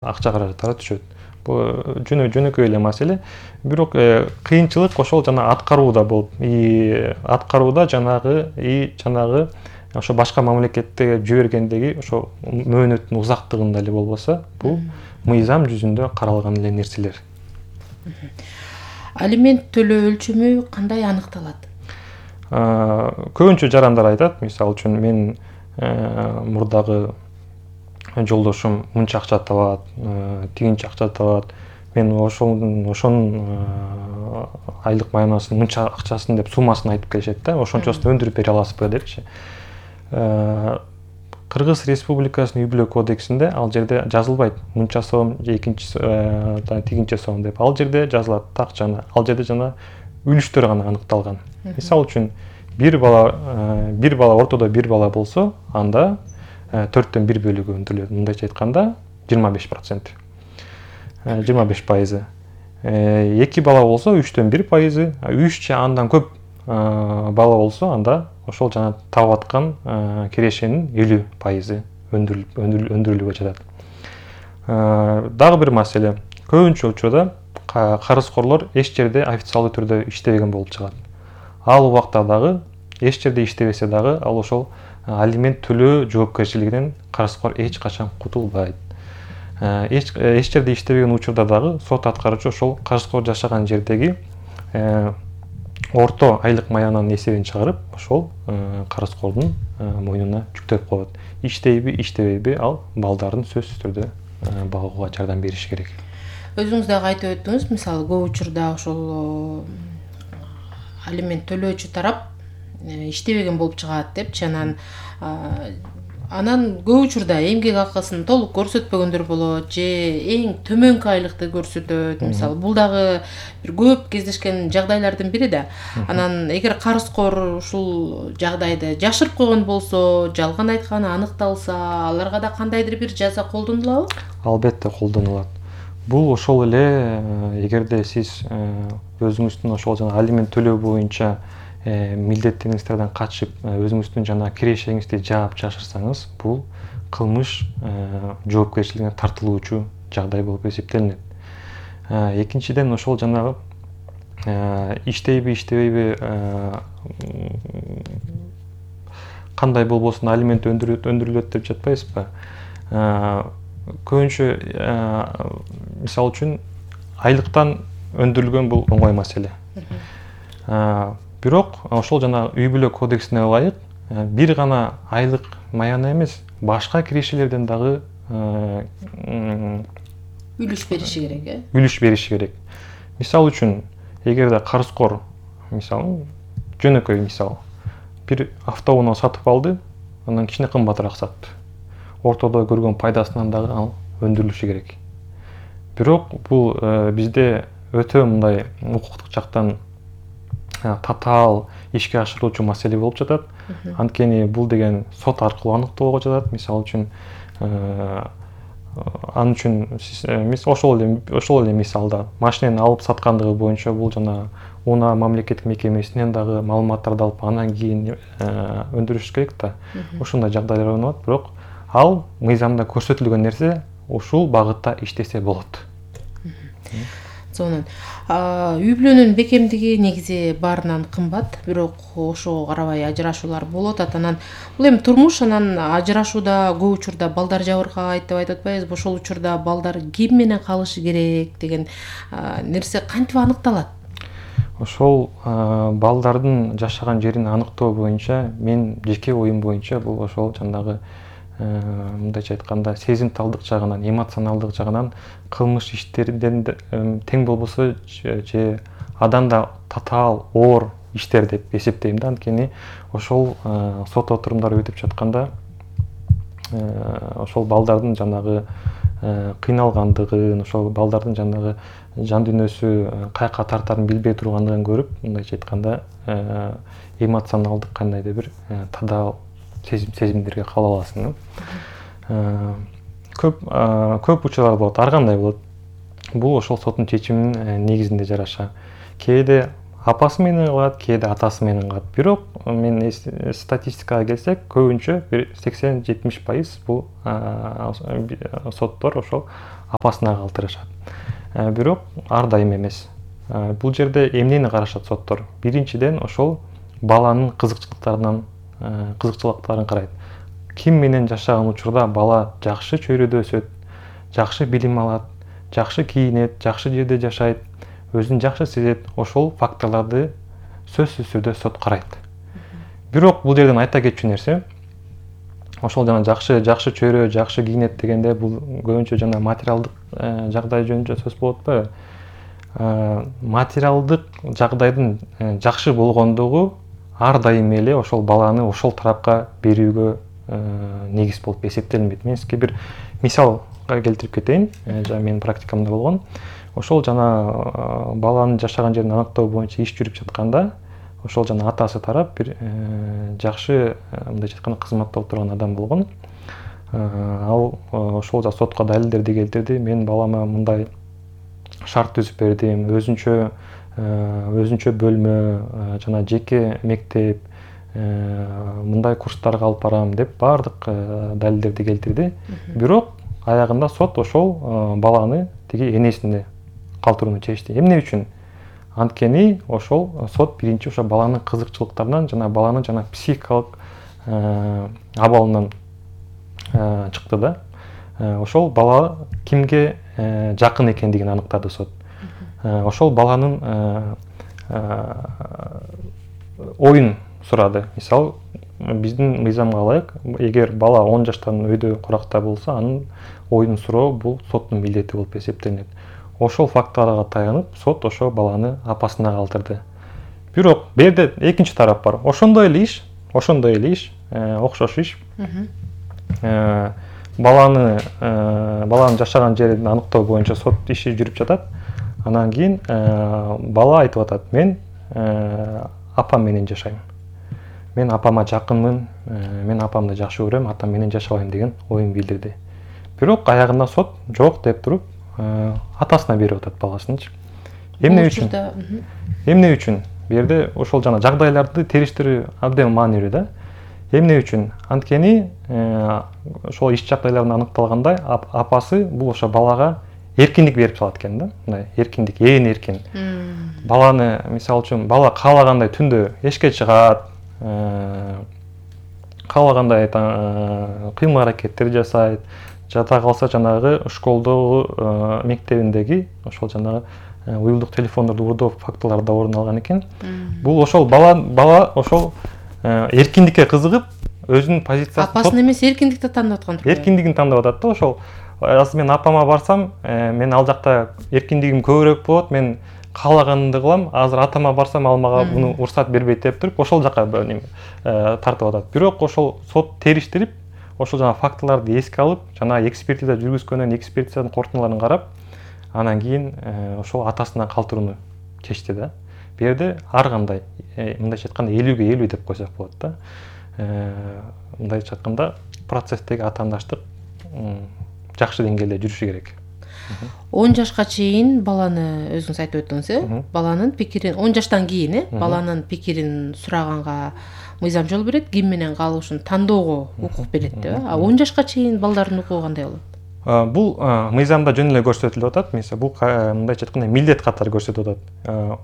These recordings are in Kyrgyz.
акча каражаттары түшөт. Бул жөнөкөй эле маселе. Бирок кыйынчылык ошол жана аткарууда болуп, аткарууда жанагы ошо башка мамлекетте жибергендеги ошо мөөнөттүн узактыгында эле болбосо, бул мыйзам жүзүндө каралган эле нерселер. Алимент төлөө өлчөмү кандай аныкталат? Көбүнчө жарандар айтат, мисалы үчүн мен мурдагы жолдошум мынча акча табат, тигинче акча табат. Мен ошонун айлык маянасынын мынча акчасын деп суммасын айтып келишет да, ошончосун өндүрүп бере аласызбы депчи. Кыргыз Республикасынын үй-бүлө кодексинде ал жерде жазылбайт мынча сом же тигинче сом деп. Ал жерде жазылат так жана, ал жерде жана үлүштөр гана аныкталган. Мисалы үчүн бир бала ортодо бир бала болсо, анда 4-төн 1 бөлүгү өндүрүлөт. Мындайча айтканда 25%. 25%. 2 бала болсо 3-төн 1%, 3 же андан көп бала болсо, анда ошол жана таап аткан кирешенин 50% өндүрүлүүгө жатат. Дагы бир маселе, көбүнчө учурда карызкорлор эч жерде официалдуу түрдө иштебеген болуп чыгат. Ал убакта дагы эч жерде иштебесе дагы, ал ошол алимент төлөө жоопкерчилигинен карызкор эч качан кутулбайт. Эч жерде иштебеген учурда дагы сот аткаруучу ошол карызкор жашаган жердеги орто айлык маянанын эсебин чыгарып, ошол карызкордун мойнуна жүктөп коет. Иштейби, иштебейби, ал балдарын сөзсүз түрдө багууга жардам бериш керек. Өзүңүз дагы айтып өттүңүз, мисалы көп учурда ошол алимент төлөөчү тарап иштебеген болуп чыгат депчи, анан көп учурда эмгек акысын толук көрсөтпөгөндөр болот же эң төмөнкү айлыкты көрсөтөт. Мисалы бул дагы бир көп кездешкен жагдайлардын бири да. Анан эгер карызкор ушул жагдайды жашырып койгон болсо, жалган айтканы аныкталса, аларга да кандайдыр бир жаза колдонулабы? Албетте колдонулат. Бул ошол эле, эгерде сиз өзүңүздүн ошол жана алимент төлөө боюнча милдеттериңиздерден качып, өзүңүздүн жана кирешеңизди жаап жашырсаңыз, бул кылмыш жоопкерчилигине тартылуучу жагдай болуп эсептелинет. Экинчиден, ошол жанагы иштейби, иштебейби, кандай болбосун алимент өндүрүлөт деп жатпайсызбы? Көбүнчө мисалы үчүн айлыктан өндүрүлгөн бул оңой маселе. Бирок ошол жана үй-бүлө кодексине ылайык бир гана айлык маяна эмес, башка кирешелерден дагы үлүш бериши керек, Үлүш бериши керек. Мисалы үчүн, эгерде карызкор, мисалы, жөнөкөй мисал, бир автоунаа сатып алды, анан кичине кымбатыраак сатты. Ортодо көргөн пайдасынан дагы ал өндүрүлүшү керек. Бирок бул бизде өтө мындай укуктук жактан татаал ишке ашырылуучу маселе болуп жатат. Анткени бул деген сот аркылуу аныктоого жатат. Мисалы үчүн, ал үчүн ошол эле мисалда машинени алып саткандыгы боюнча бул жана унаа мамлекеттик мекемесинен дагы маалыматтарды алып, анан кийин өндүрүш керек да. Ошондой жагдайлар болот, бирок ал мыйзамда көрсөтүлгөн нерсе ушул багытта иштесе болот. Сонун. Үй-бүлөнүн бекемдиги негизи баарынан кымбат, бирок ошого карабай ажырашуулар болуп атат. Анан бул эми турмуш, анан ажырашууда көп учурда балдар жабыркайт деп айтып атпайбызбы? Ошол учурда балдар ким менен калышы керек деген нерсе кантип аныкталат? Ошол балдардын жашаган жерин аныктоо боюнча, мен жеке оюм боюнча, бул ошол жанагы мындайча айтканда сезимталдык жагынан, эмоционалдык жагынан кылмыш иштерден тең болбосо же адан да татаал оор иштер деп эсептейм да. Анткени ошол сот отурумдары өтүп жатканда ошол балдардын жанагы кыйналгандыгын, ошол балдардын жанагы жан дүйнөсү каяка тартарын билбей тургандыгын көрүп, мындайча айтканда эмоционалдык кандайдыр бир татаал сезимдерге кала аласың. Көп учурлар болот, ар кандай болот. Бул ошол соттун чечиминин негизинде жараша. Кээде апасы менен калат, кээде атасы менен калат. Бирок мен статистикага келсек, көбүнчө бир 80-70% бул соттор ошол апасына калтырышат. Бирок ар дайым эмес. Бул жерде эмнени карашат соттор? Биринчиден ошол баланын кызыкчылыктарын карайт. Ким менен жашаган учурда бала жакшы чөйрөдө өсөт, жакшы билим алат, жакшы кийинет, жакшы жерде жашайт, өзүн жакшы сезет, ошол факторлорду сөзсүз түрдө сот карайт. Бирок бул жерден айта кетчү нерсе, ошол жана жакшы чөйрө, жакшы кийинет дегенде бул көбүнчө жана материалдык жагдай жөнүндө сөз болуп атпайбы? Материалдык жагдайдын жакшы болгондугу ар дайым эле ошол баланы ошол тарапка берүүгө негиз болуп эсептелинбейт. Мен сизге бир мисал келтирип кетейин. Жана менин практикамда болгон. Ошол жана баланын жашаган жерин аныктоо боюнча иш жүрүп жатканда, ошол жана атасы тарап бир жакшы мындайча айтканда кызматта отурган адам болгон. Ал ошол сотко далилдерди келтирди. Мен балама мындай шарт түзүп бердим, өзүнчө бөлмө, жана жеке мектеп, мындай курстарга алып барам деп баардык далилдерди келтирди. Бирок аягында сот ошол баланы тиги энесине калтырууну чечти. Эмне үчүн? Анткени ошол сот биринчи ошо баланын кызыкчылыктарынан жана баланын жана психикалык абалынан чыкты да. Ошол бала кимге жакын экендигин аныктады сот. Ошол баланын оюн сурады. Мисалы, биздин мыйзамга ылайык, эгер бала 10 жаштан өйдө куракта болсо, анын оюн суроо бул соттун милдети болуп эсептелинет. Ошол факторго таянып, сот ошол баланы апасына калтырды. Бирок бул жерде экинчи тарап бар. Ошондой эле иш, окшош иш. Баланын жашаган жерин аныктоо боюнча сот иши жүрүп жатат. Анан кийин бала айтып атат: "Мен апам менен жашайм. Мен апама жакынмын, мен апамды жакшы көрөм, атам менен жашабайм" деген оюн билдирди. Бирок аягында сот жок деп туруп, атасына берип атат баласынчы. Эмне үчүн? Бу жерде ошол жана жагдайларды териштирүү абдан маанилүү да. Эмне үчүн? Анткени ошол иш жагдайларында аныкталгандай, апасы бул ошо балага эркиндик берип салат экен да. Мындай эркиндик, эркин. Баланы, мисалы үчүн, бала каалагандай түндө эшикке чыгат, каалагандай кыймыл аракеттер жасайт, жата калса жанагы школдогу мектебиндеги ошол жанагы уюлдук телефондорду урдоо фактылары да орун алган экен. Бул ошол бала ошол эркиндикке кызыгып, өзүнүн позициясын апасын эмес эркиндикти тандап аткан. Эркиндигин тандап атат да. Ошол азыр мен апама барсам, мен ал жакта эркиндигим көбүрөөк болот, мен каалаганымды кылам. Азыр атама барсам, ал мага буну уруксат бербейт деп туруп, ошол жака тартып атат. Бирок ошол сот териштирип, ошол жана фактыларды эске алып, жана экспертиза жүргүзгөндөн экспертизанын корутундуларын карап, анан кийин ошол атасына калтырууну чечти да. Бу жерде ар кандай, мындайча айтканда 50-50 деп койсок болот да. Мындайча айтканда процесстеги атаандаштык жакшы деңгээлде жүрүшү керек. 10 жашка чейин баланы өзүңүз айтып өттүңүз, баланын пикирин 10 жаштан кийин, баланын пикирин сураганга мыйзам жол берет, ким менен калышын тандоого укук берет деп. А 10 жашка чейин балдардын укугу кандай болот? Бул мыйзамда жөн эле көрсөтүлүп атат. Мисалы, бул мындайча айтканда милдет катары көрсөтүлүп атат.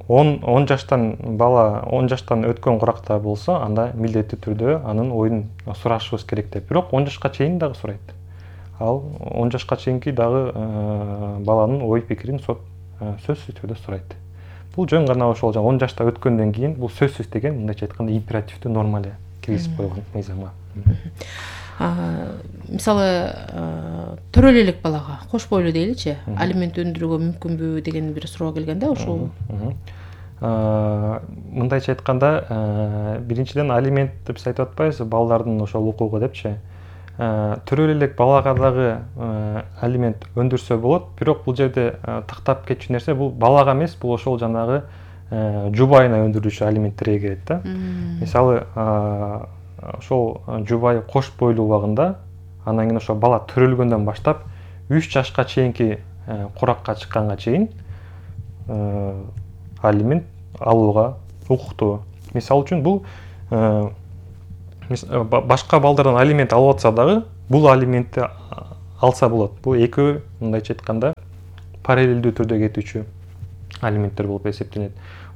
10 жаштан бала 10 жаштан өткөн куракта болсо, анда милдеттүү түрдө анын оюн сурашыбыз керек деп. Бирок 10 жашка чейин дагы сурайт. Ал 10 жашка чейинки дагы баланын ой пикирин сот сөзсүз түрдө сурайт. Бул жөн гана ошол 10 жашта өткөндөн кийин бул сөзсүз деген мындайча айтканда императивдүү норма эле киргизип койгон мыйзамга. Мисалы, төрөлө элек балага, кош бойлуу дейличи, алимент өндүрүүгө мүмкүнбү деген бир суроо келгенде, ошол мындайча айтканда, биринчиден алимент деп айтып атпайбызбы, балдардын ошол укугу депчи. Төрөлө элек балага дагы алимент өндүрсө болот, бирок бул жерде тактап кетчү нерсе, бул балага эмес, бул ошол жанагы жубайына өндүрүлүшү алименттерге кирет да. Мисалы, ошол жубай кош бойлуу убагында, анан кийин ошол бала төрөлгөндөн баштап 3 жашка чейинки куракка чыкканга чейин алимент алууга укуктуу. Мисалы үчүн бул башка балдардан алимент алып атса дагы, бул алиментти алса болот. Бул экөө мындайча айтканда параллелдүү түрдө кетүүчү алименттер болуп эсептелет.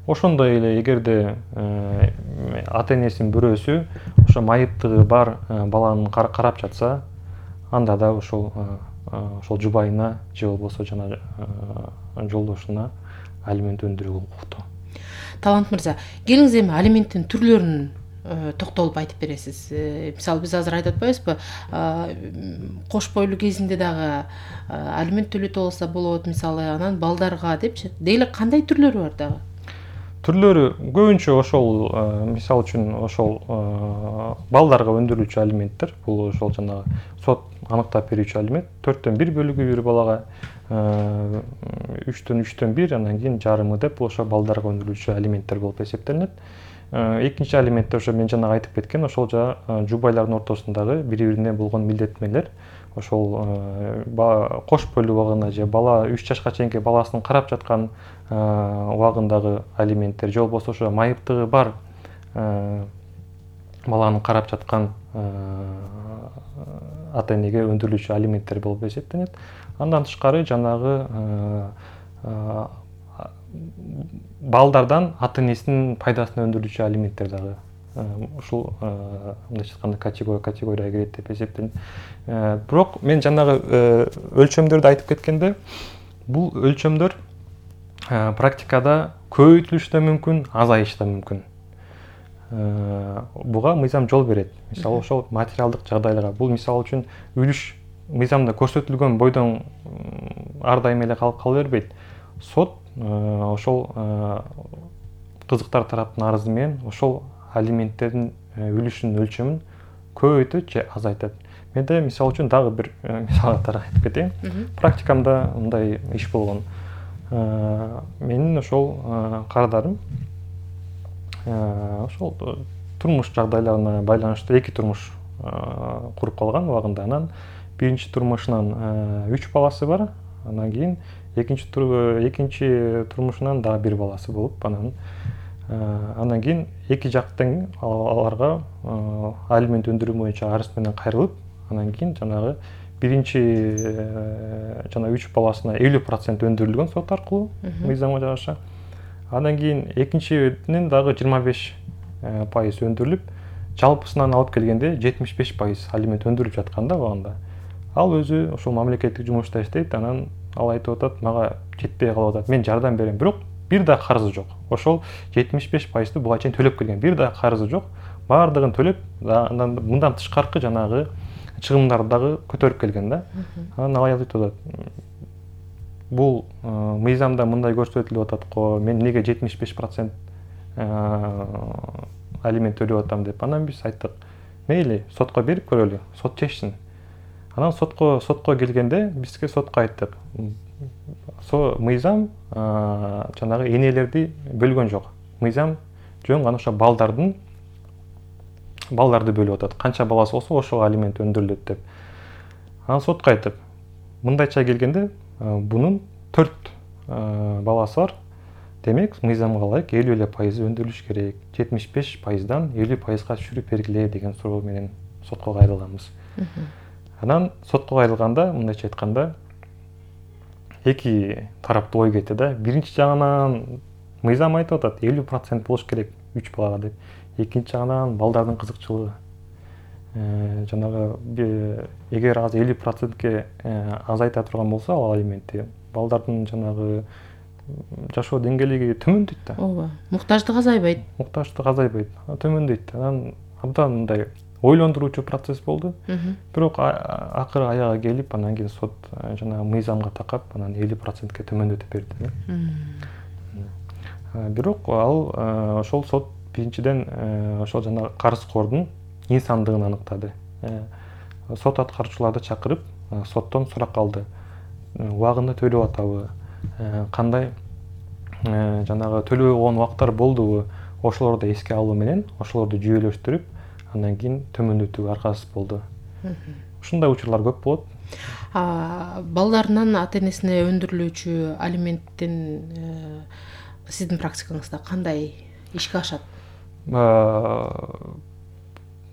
Ошондой эле эгерде ата энесинин бирөөсү ошо майыптыгы бар баланын карап жатса, анда да ошол жубайына же болбосо жана жолдошуна алимент өндүрүүгө укуктуу. Талант мырза, келиңиз эми алименттин түрлөрүн токтолуп айтып бересиз. Мисалы биз азыр айтып атпайбызбы, кош бойлуу кезинде дагы алимент төлөтө алса болот, мисалы анан балдарга депчи. Деги эле кандай түрлөрү бар дагы? Түрлөрү көбүнчө ошол мисалы үчүн ошол балдарга өндүрүлүүчү алименттер. Бул ошол жанагы сот аныктап берүүчү алимент 4-төн 1 бөлүгү бир балага, 3-төн 1, андан кийин жарымы деп ошо балдарга өндүрүлүүчү алименттер болуп эсептелинет. Экинчи алимент ошо мен жана айтып кеткен, ошол жубайлардын ортосундагы бири-бирине болгон милдеттенмелер. Ошол кош бойлуу убагында же бала 3 жашка чейинки баласын карап жаткан убагындагы алименттер, же болбосо ошо майыптыгы бар баланы карап жаткан ата энеге өндүрүлүүчү алименттер болуп эсептелет. Андан тышкары жанагы балдардан ата энесинин пайдасына өндүрүлүүчү алименттер дагы ушул мындайча айтканда категорияга кирет деп эсептелет. Бирок мен жанагы өлчөмдөрдү айтып кеткенде, бул өлчөмдөр практикада көбөйтүлүшү да мүмкүн, азайышы да мүмкүн. Буга мыйзам жол берет. Мисалы ошол материалдык жагдайларга. Бул мисалы үчүн үлүш мыйзамда көрсөтүлгөн бойдон ар дайым эле кала бербейт. Сот ошол кызыктар тараптын арызы менен ошол алименттердин үлүшүнүн өлчөмүн көбөйтөт же азайтат. Менде мисалы үчүн дагы бир мисал катары айтып кетейин. Практикамда мындай иш болгон. Менин ошол кардарым ошол турмуш жагдайларына байланыштуу 2 турмуш куруп калган убагында. Анан биринчи турмушунан 3 баласы бар. Андан кийин экинчи турмушунан дагы 1 баласы болуп, андан кийин эки жактын аларга алимент өндүрүү боюнча арыз менен кайрылып, андан кийин жанагы биринчи жана 3 баласына 50% өндүрүлгөн сот аркылуу мыйзамга жараша. Андан кийин экинчинин дагы 25% өндүрүлүп, жалпысынан алып келгенде 75% алимент өндүрүлүп жатканда убагында. Ал өзү ошол мамлекеттик жумушта иштейт, анан ал айтып атат, мага жетпей калып атат, мен жардам берем, бирок бир да карызы жок. Ошол 75%ды буга чейин төлөп келген, бир да карызы жок. Баардыгын төлөп, андан мындан тышкаркы жанагы чыгымдарды дагы көтөрүп келген да. Анан ал айтып атат, бул мыйзамда мындай көрсөтүлүп атат го, мен неге 75% алимент төлөп атам деп. Анан биз айттык, мейли, сотко берип көрөлү, сот чечсин. Анан сотко келгенде бизге сотко айттык, мыйзам жанагы энелерди бөлгөн жок. Мыйзам жөн гана ошо балдарды бөлүп атат. Канча баласы болсо ошого алимент өндүрүлөт деп. Анан сотко айттык, мындайча келгенде бунун 4 баласы бар. Демек, мыйзамга ылайык 50% өндүрүлүш керек. 75%дан 50%га түшүрүп бергиле деген суроо менен сотко кайрылганбыз. Анан сотко кайрылганда, мындайча айтканда, эки тараптуу ой кетти да. Биринчи жагынан мыйзам айтып атат, 50% болуш керек 3 балага деп. Экинчи жагынан балдардын кызыкчылыгы. Жанагы эгер азыр 50%ке азайта турган болсо ал алиментти, балдардын жанагы жашоо деңгээлиги төмөндөйт да. Ооба, муктаждык азайбайт. Төмөндөйт. Анан абдан мындай ойлондуруучу процесс болду. Бирок акыры аяга келип, анан кийин сот жанагы мыйзамга такап, анан 50%ке төмөндөтүп берди. Бирок ал ошол сот биринчиден ошол жанагы карызкордун инсандыгын аныктады. Сот аткаруучуларды чакырып, соттон сурак алды. Убагында төлөп атабы? Кандай жанагы төлөгөн убактар болдубу? Ошолорду эске алуу менен ошолорду жүйөлөштүрүп, андан кийин төмөндөтүүгө аргасыз болду. Ушундай учурлар көп болот. Балдарынан ата энесине өндүрүлүүчү алименттин сиздин практикаңызда кандай ишке ашат?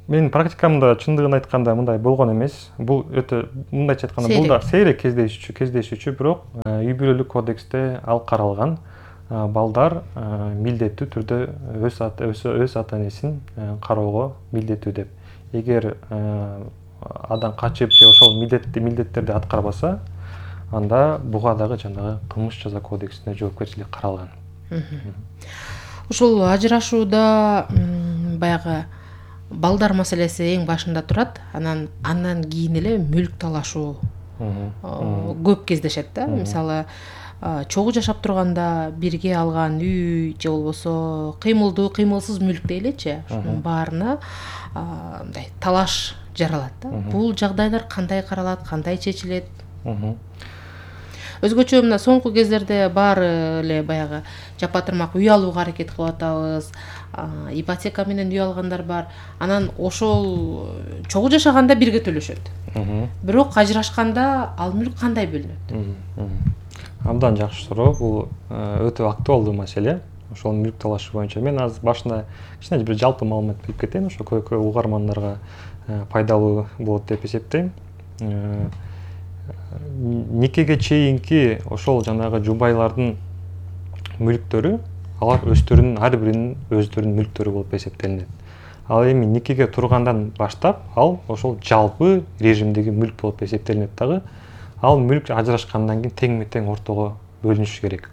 Менин практикамда чындыгын айтканда мындай болгон эмес. Бул өтө мындайча айтканда бул да сейрек кездешүүчү, бирок үй бүлөлүк кодексте ал каралган. Балдар милдеттүү түрдө өз ата энесин кароого милдеттүү деп. Эгер адам качып же ошол милдеттерди аткарбаса, анда буга дагы жанагы кылмыш жаза кодексинде жоопкерчилик каралган. Ушул ажырашууда баягы балдар маселеси эң башында турат, андан кийин эле мүлк талашуу көп кездешет да. Мисалы, чогуу жашап турганда бирге алган үй же болбосо кыймылдуу, кыймылсыз мүлк дейличи, ошонун баарына мындай талаш жаралат да. Бул жагдайлар кандай каралат, кандай чечилет? Өзгөчө мына соңку кездерде баары эле баягы жапа-тырмак үй алууга аракет кылып атабыз. Ипотека менен үй алгандар бар. Анан ошол чогуу жашаганда бирге төлөшөт. Бирок ажырашканда ал мүлк кандай бөлүнөт? Абдан жакшы суроо. Бул өтө актуалдуу маселе. Ошол мүлк талашы боюнча мен азыр башында кичине бир жалпы маалымат берип кетейин, ошо көбү угармандарга пайдалуу болот деп эсептейм. Никеге чейинки ошол жанагы жубайлардын мүлктөрү, алар өздөрүнүн ар биринин өздөрүнүн мүлктөрү болуп эсептелинет. Ал эми никеге тургандан баштап ал ошол жалпы режимдеги мүлк болуп эсептелинет дагы. Ал мүлк ажырашкандан кийин теңме-тең ортого бөлүнүшү керек.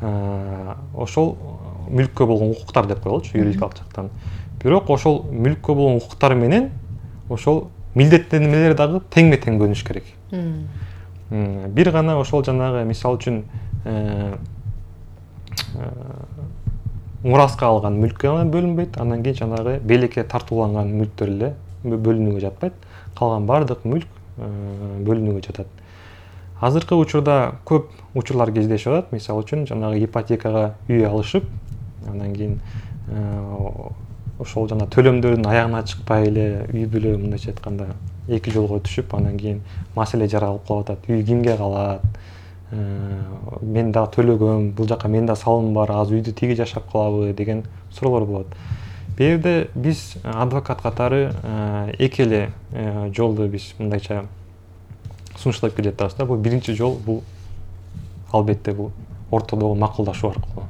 Ошол мүлккө болгон укуктар деп коелучу юридикалык жактан. Бирок ошол мүлккө болгон укуктар менен ошол милдеттенмелер дагы теңме-тең бөлүнүш керек. Бир гана ошол жанагы мисал үчүн мураска алган мүлк гана бөлүнбөйт, андан кийин жанагы белекке тартууланган мүлктөр эле бөлүнүүгө жатпайт. Калган бардык мүлк бөлүнүүгө жатат. Азыркы учурда көп учурлар кездешип атат. Мисал үчүн жанагы ипотекага үй алышып, андан кийин ошол жана төлөмдөрдүн аягына чыкпай эле үй бүлө мындайча айтканда эки жолго түшүп, андан кийин маселе жаралып калып атат. Үй кимге калат? Мен да төлөгөм, бул жака мен да салым бар, азыр үйдө тиги жашап калабы деген суроолор болот. Бу жерде биз адвокат катары эки эле жолду биз мындайча сунуштап келе жатабыз да. Бул биринчи жол, бул албетте бул ортодогу макулдашуу аркылуу.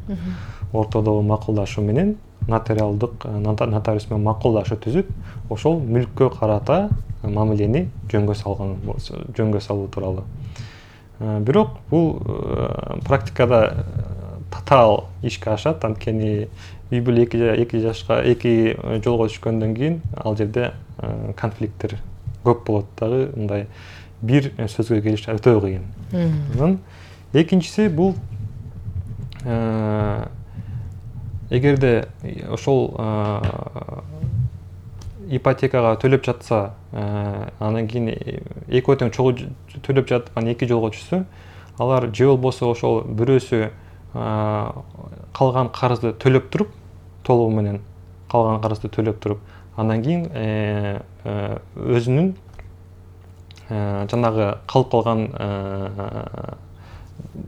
Ортодогу макулдашуу менен нотариалдык нотариус менен макулдашуу түзүп, ошол мүлккө карата мамилени жөнгө салуу тууралуу. Бирок бул практикада татаал ишке ашат, анткени үй бүлө эки жолго түшкөндөн кийин ал жерде конфликттер көп болот дагы, мындай бир сөзгө келиш өтө кыйын. Экинчиси бул эгерде ошол ипотекага төлөп жатса, анан кийин экөө тең чогуу төлөп жаткан эки жолго түшсө, алар же болбосо ошол бирөөсү калган карызды төлөп туруп, толугу менен калган карызды төлөп туруп, андан кийин өзүнүн жанагы калып калган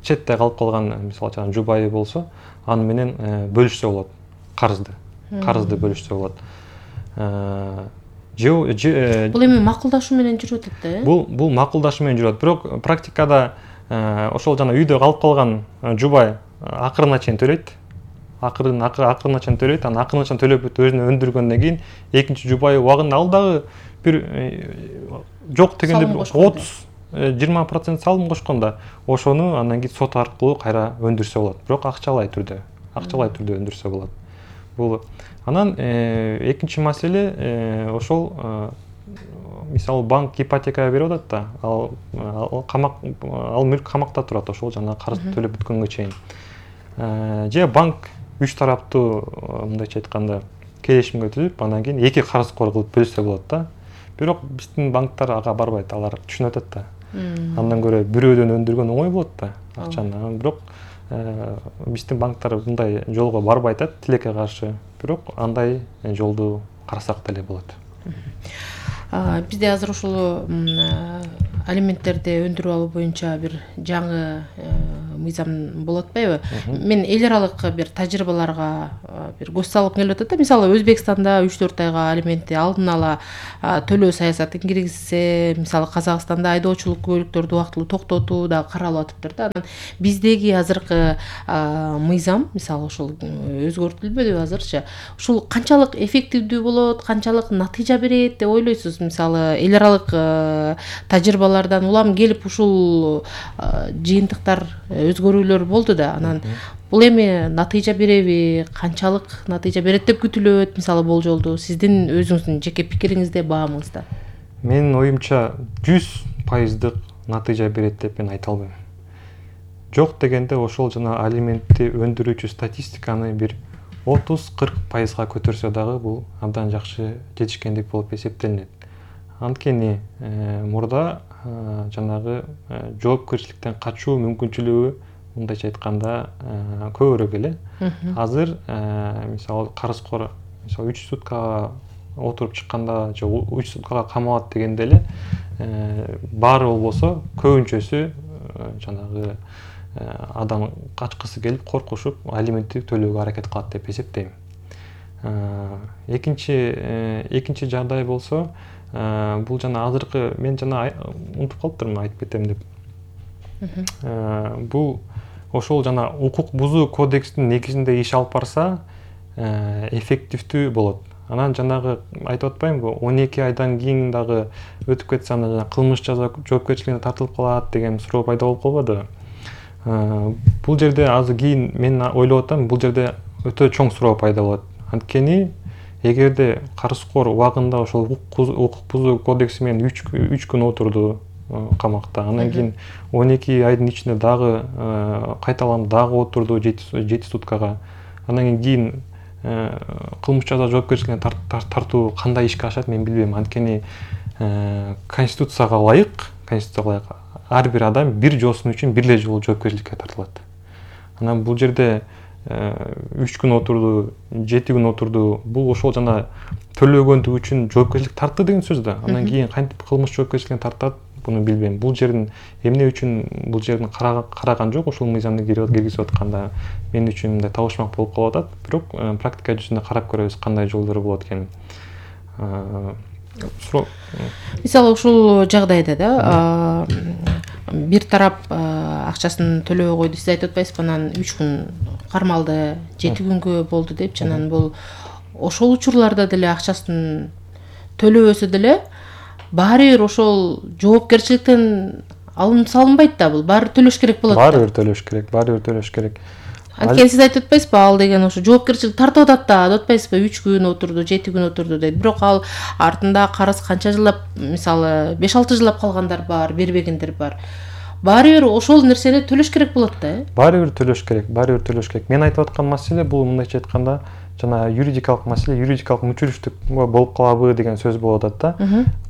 четте калып калган, мисалы жубайы болсо, аны менен бөлүшсө болот карызды бөлүшсө болот. Бул эми макулдашуу менен жүрүп атат да? Бул макулдашуу менен жүрөт. Бирок практикада ошол жана үйдө калып калган жубай акырына чейин төлөйт. Акырына чейин төлөйт. Анан акырына чейин төлөп өзүнө өндүргөндөн кийин экинчи жубайы убагында ал дагы бир жок дегенде 30-20% салым кошкондо ошону андан кийин сот аркылуу кайра өндүрсө болот. Бирок акчалай түрдө өндүрсө болот. Бул анан экинчи маселе ошол мисалы банк ипотека берип атат да, ал мүлк камакта турат ошол жана карызды төлөп бүткөнгө чейин. Же банк үч тараптуу мындайча айтканда келишимге түзүп, андан кийин эки карызкор кылып бөлүшсө болот да. Бирок биздин банктар ага барбайт, алар түшүнүп атат да. Андан көрө бирөөдөн өндүргөн оңой болот да акчаны. Бирок биздин банктар мындай жолго барбайт атат, тилекке каршы. Бирок андай жолду карасак деле болот. Бизде азыр ушул алименттерди өндүрүп алуу боюнча бир жаңы мыйзам болуп атпайбы? Мен эл аралык бир тажрыйбаларга бир көз салып келип атат да. Мисалы Өзбекстанда 3-4 айга алиментти алдын ала төлөө саясатын киргизсе, мисалы Казакстанда айдоочулук көлүктөрдү убактылуу токтотуу да каралып атыптыр да. Анан биздеги азыркы мыйзам мисалы ушул өзгөртүлбөдүбү азырчы? Ушул канчалык эффективдүү болот, канчалык натыйжа берет деп ойлойсуз? Мисалы эл аралык тажрыйбалардан улам келип ушул жыйынтыктар өзгөрүүлөр болду да. Анан бул эми натыйжа береби, канчалык натыйжа берет деп күтүлөт? Мисалы болжолдуу сиздин өзүңүздүн жеке пикириңизде, баамыңызда. Менин оюмча 100% натыйжа берет деп мен айта албайм. Жок дегенде ошол жана алиментти өндүрүүчү статистиканы бир 30-40%га көтөрсө дагы бул абдан жакшы жетишкендик болуп эсептелинет. Анткени мурда жанагы жоопкерчиликтен качуу мүмкүнчүлүгү мындайча айтканда көбүрөөк эле. Азыр мисалы карызкор мисалы 3 суткага отуруп чыкканда же 3 суткага камалат дегенде эле баары болбосо көбүнчөсү жанагы адам качкысы келип коркушуп алиментти төлөөгө аракет кылат деп эсептейм. Экинчи жагдай болсо бул жана азыркы мен жана унутуп калыптырмын айтып кетем деп. Бул ошол жана укук бузуу кодекстин негизинде иш алып барса эффективдүү болот. Анан жанагы айтып атпаймынбы 12 айдан кийин дагы өтүп кетсе анда жана кылмыш жаза жоопкерчилигине тартылып калат деген суроо пайда болуп калбадыбы? Бул жерде азыр кийин мен ойлоп атам, бул жерде өтө чоң суроо пайда болот. Анткени эгерде карызкор убагында ошол укук бузуу кодекси менен 3 күн отурду камакта, анан кийин 12 айдын ичинде дагы кайталанып дагы отурду 7 суткага, анан кийин кылмыш жаза жоопкерчилигине тартуу кандай ишке ашат мен билбейм. Анткени конституцияга ылайык ар бир адам бир жоосун үчүн бир эле жолу жоопкерчиликке тартылат. Анан бул жерде 3 күн отурду, 7 күн отурду, бул ошол жана төлөгөндүгү үчүн жоопкерчилик тартты деген сөз да. Анан кийин кантип кылмыш жоопкерчилигине тартат, буну билбейм. Бул жердин эмне үчүн бул жердин караган жок, ошол мыйзамды киргизип атканда мен үчүн мындай табышмак болуп калып атат. Бирок практика жүзүндө карап көрөбүз кандай жолдору болот экенин. Мисалы ушул жагдайда да бир тарап акчасын төлөбөй койду, сиз айтып атпайсызбы, анан 3 күн кармалды, 7 күнгө болду деп, анан бул ошол учурларда деле акчасын төлөбөсө деле баары бир ошол жоопкерчиликтен салынбайт да, бул баары төлөш керек болот. Баары бир төлөш керек. Анткени сиз айтып атпайсызбы, ал деген ошо жоопкерчилик тартып атат да, деп атпайсызбы, 3 күн отурду, 7 күн отурду дейт. Бирок ал артында карыз канча жылдап, мисалы 5-6 жылдап калгандар бар, бербегендер бар. Баары бир ошол нерсени төлөш керек болот да. Баары бир төлөш керек. Мен айтып аткан маселе бул мындайча айтканда жана юридикалык маселе, юридикалык мүчүлүштүк болуп калабы деген сөз болуп атат да.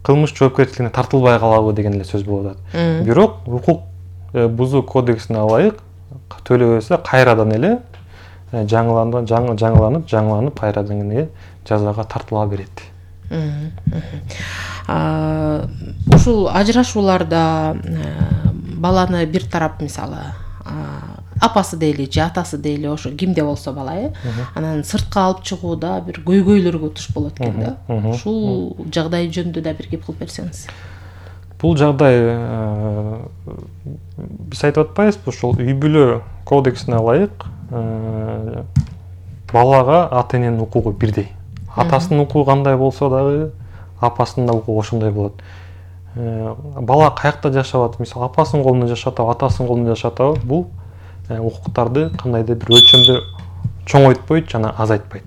Кылмыш жоопкерчилигине тартылбай калабы деген эле сөз болуп атат. Бирок укук бузуу кодексине ылайык төлөбөсө кайрадан эле жаңыланып кайрадан эле жазага тартыла берет. Ушул ажырашууларда баланы бир тарап мисалы апасы дейли же атасы дейли, ошо кимде болсо бала анан сыртка алып чыгууда бир көйгөйлөргө туш болот экен да. Ушул жагдай жөнүндө да бир кеп кылып берсеңиз. Бул жагдай биз айтып атпайбызбы, ошол үй бүлө кодексине ылайык балага ата эненин укугу бирдей. Атасынын укугу кандай болсо дагы апасынын да укугу ошондой болот. Бала каякта жашап, мисалы апасынын колунда жашап, атасынын колунда жашап, бул укуктарды кандайдыр бир өлчөмдө чоңойтпойт жана азайтпайт.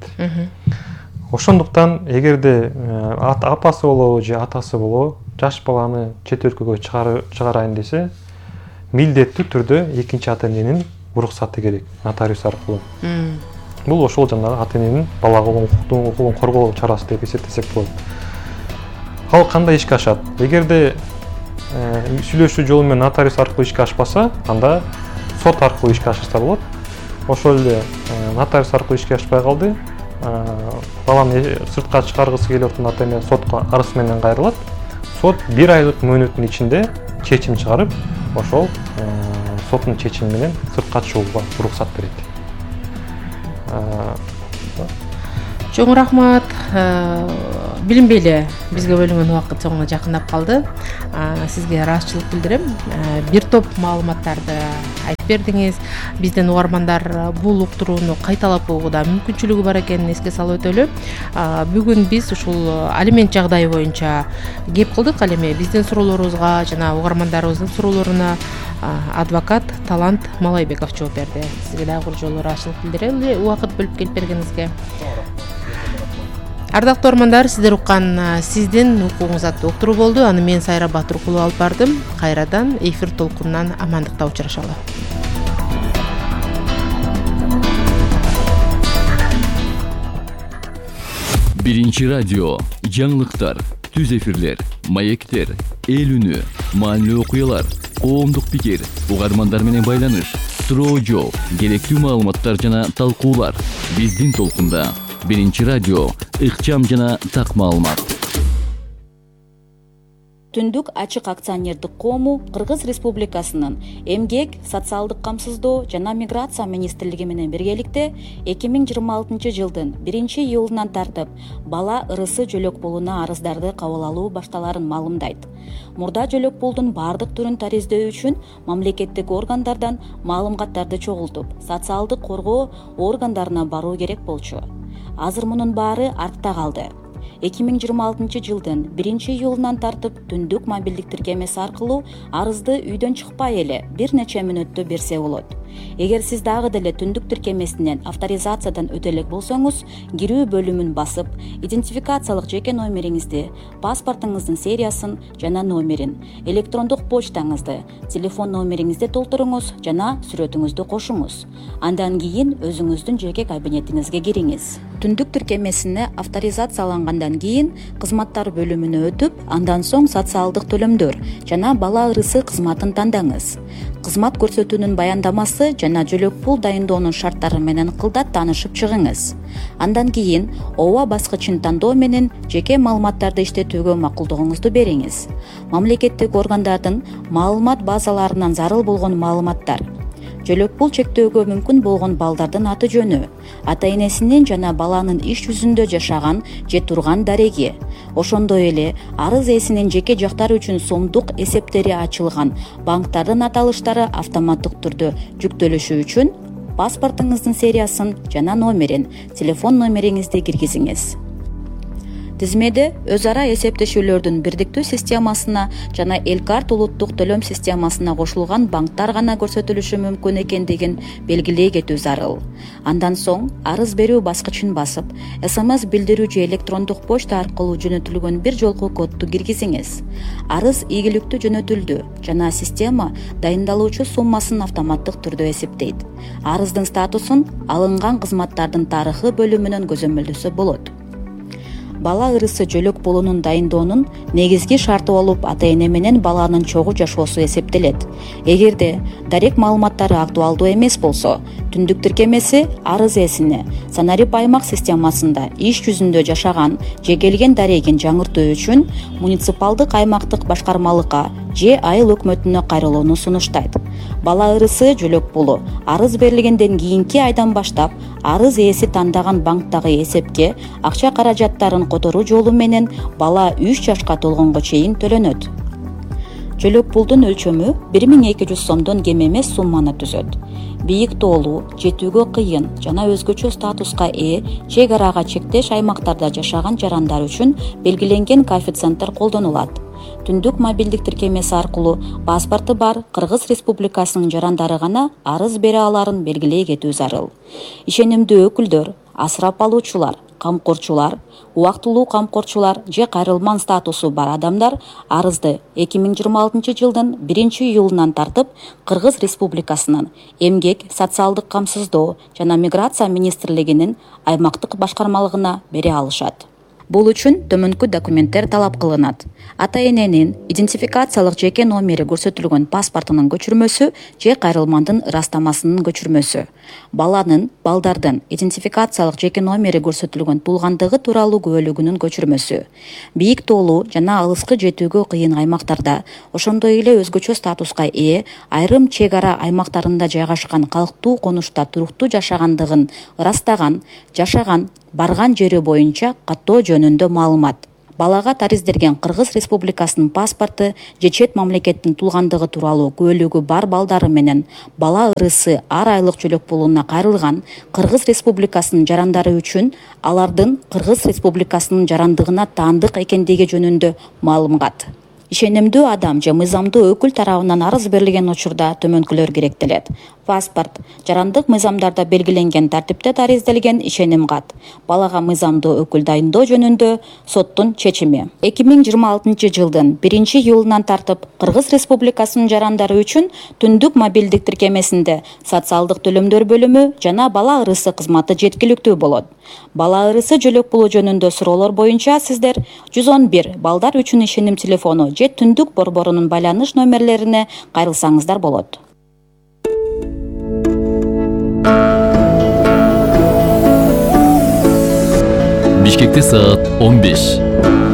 Ошондуктан эгерде апасы болобу же атасы болобу жаш баланы чет өлкөгө чыгарайын десе, милдеттүү түрдө экинчи ата эненин уруксаты керек, нотариус аркылуу. Бул ошол жанагы ата эненин балага укугун коргоо чарасы деп эсептесек болот. Ал кандай ишке ашат? Эгерде сүйлөшүү жолу менен нотариус аркылуу ишке ашпаса, анда сот аркылуу ишке ашса болот. Ошол эле нотариус аркылуу ишке ашпай калды. Баланы сыртка чыгаргысы келип аткан ата эне сотко арыз менен кайрылат. Сот 1 айлык мөөнөттүн ичинде чечим чыгарып, ошол соттун чечими менен сыртка чыгууга уруксат берет. Чоң рахмат. Билинбей эле бизге бөлүнгөн убакыт соңуна жакындап калды. Сизге ыраазычылык билдирем. Бир топ маалыматтарды айтып бердиңиз. Бизден угармандар бул уктурууну кайталап угууда мүмкүнчүлүгү бар экенин эске салып өтөлү. Бүгүн биз ушул алимент жагдайы боюнча кеп кылдык. Ал эми биздин суроолорубузга жана угармандарыбыздын суроолоруна адвокат Талант Малайбеков жооп берди. Сизге дагы бир жолу ыраазычылык билдирели убакыт бөлүп келип бергениңизге. Ардактуу угармандар, сиздер уккан сиздин укугуңуз аттуу уктуруу болду. Аны мен Сайра Батыркулу алып бардым. Кайрадан эфир толкунунан амандыкта учурашалы. Биринчи радио, жаңылыктар, түз эфирлер, маектер, эл үнү, маанилүү окуялар, коомдук пикир, угармандар менен байланыш, суроо жооп, керектүү маалыматтар жана талкуулар. Биздин толкунда Биринчи радио, ыкчам жана так маалымат. Түндүк ачык акционердик коому Кыргыз Республикасынын Эмгек, социалдык камсыздоо жана миграция министрлиги менен биргеликте 2026 жылдын 1-июлунан тартып бала ырысы жөлөк пулуна арыздарды кабыл алуу башталарын маалымдайт. Мурда жөлөк пулдун бардык түрүн тариздөө үчүн мамлекеттик органдардан маалыматтарды чогултуп, социалдык коргоо органдарына баруу керек болчу. Азыр мунун баары артта калды. 2026 жылдын 1-июлунан тартып түндүк мобилдик тиркемеси аркылуу арызды үйдөн чыкпай эле бир нече мүнөттө берсе болот. Эгер сиз дагы деле түндүк тиркемесинен авторизациядан өтө элек болсоңуз, кирүү бөлүмүн басып, идентификациялык жеке номериңизди, паспортуңуздун сериясын жана номерин, электрондук почтаңызды, телефон номериңизди толтуруңуз жана сүрөтүңүздү кошуңуз. Андан кийин өзүңүздүн жеке кабинетиңизге кириңиз. Түндүк тиркемесине авторизациялангандан кийин кызматтар бөлүмүнө өтүп, андан соң социалдык төлөмдөр жана бала ырысы кызматын тандаңыз. Кызмат көрсөтүүнүн баяндамасы жана жөлөк пул дайындоонун шарттары менен кылдат таанышып чыгыңыз. Андан кийин ооба баскычын тандоо менен жеке маалыматтарды иштетүүгө макулдугуңузду бериңиз. Мамлекеттик органдардын маалымат базаларынан зарыл болгон маалыматтар, жөлөк пул чектөөгө мүмкүн болгон балдардын аты жөнү, ата-энесинин жана баланын иш жүзүндө жашаган же турган дареги, ошондой эле арыз ээсинин жеке жактары үчүн сомдук эсептери ачылган банктардын аталыштары автоматтык түрдө жүктөлүшү үчүн паспортуңуздун сериясын жана номерин, телефон номериңизди киргизиңиз. Тизмеде өз ара эсептешүүлөрдүн бирдиктүү системасына жана Элкарт улуттук төлөм системасына кошулган банктар гана көрсөтүлүшү мүмкүн экендигин белгилей кетүү зарыл. Андан соң арыз берүү баскычын басып, СМС билдирүү же электрондук почта аркылуу жөнөтүлгөн бир жолку кодду киргизиңиз. Арыз ийгиликтүү жөнөтүлдү жана система дайындалуучу суммасын автоматтык түрдө эсептейт. Арыздын статусун алынган кызматтардын тарыхы бөлүмүнөн көзөмөлдөсө болот. Бала ырысы жөлөк пулунун дайындоонун негизги шарты болуп ата-эне менен баланын чогуу жашоосу эсептелет. Эгерде дарек маалыматтары актуалдуу эмес болсо, түндүк тиркемеси арыз ээсине Санарип аймак системасында иш жүзүндө жашаган же келген дарегин жаңыртуу үчүн муниципалдык аймактык башкармалыкка же айыл өкмөтүнө кайрылууну сунуштайт. Бала ырысы жөлөк пулу арыз берилгенден кийинки айдан баштап арыз ээси тандаган банктагы эсепке акча каражаттарын которуу жолу менен бала 3 жашка толгонго чейин төлөнөт. Жөлөк пулдун өлчөмү 1200 сомдон кем эмес сумманы түзөт. Бийик тоолуу, жетүүгө кыйын жана өзгөчө статуска ээ чек арага чектеш аймактарда жашаган жарандар үчүн белгиленген коэффициенттер колдонулат. Түндүк мобилдик тиркемеси аркылуу паспорту бар Кыргыз Республикасынын жарандары гана арыз бере аларын белгилей кетүү зарыл. Ишенимдүү өкүлдөр, асырап алуучулар, камкорчулар, убактылуу камкорчулар же кайрылман статусу бар адамдар арызды 2026 жылдын 1-июлунан тартып Кыргыз Республикасынын Эмгек, социалдык камсыздоо жана миграция министрлигинин аймактык башкармалыгына бере алышат. Бул үчүн төмөнкү документтер талап кылынат. Ата эненин идентификациялык жеке номери көрсөтүлгөн паспортунун көчүрмөсү же кайрылмандын ырастамасынын көчүрмөсү. Балдардын идентификациялык жеке номери көрсөтүлгөн туулгандыгы тууралуу күбөлүгүнүн көчүрмөсү. Бийик тоолуу жана алыскы жетүүгө кыйын аймактарда, ошондой эле өзгөчө статуска ээ айрым чек ара аймактарында жайгашкан калктуу конушта туруктуу жашагандыгын ырастаган, жашаган, барган жери боюнча каттоо жөнүндө маалымат. Балага тариздерген Кыргыз Республикасынын паспорту же чет мамлекеттин туулгандыгы тууралуу күбөлүгү бар балдары менен бала ырысы ар айлык жөлөк пулуна кайрылган Кыргыз Республикасынын жарандары үчүн алардын Кыргыз Республикасынын жарандыгына таандык экендиги жөнүндө маалымат. Ишенимдүү адам же мыйзамдуу өкүл тарабынан арыз берилген учурда төмөнкүлөр керектелет. Паспорт, жарандык мыйзамдарда белгиленген тартипте тариздалген ишеним кат. Балага мыйзамдуу өкүл дайындоо жөнүндө соттун чечими. 2026 жылдын 1-июлунан тартып Кыргыз Республикасынын жарандары үчүн түндүк мобилдик тиркемесинде социалдык төлөмдөр бөлүмү жана бала ырысы кызматы жеткиликтүү болот. Бала ырысы жөлөк пулу жөнүндө суроолор боюнча сиздер 111 балдар үчүн ишеним телефону же түндүк борборунун байланыш номерлерине кайрылсаңыздар болот. Бишкекте саат 15.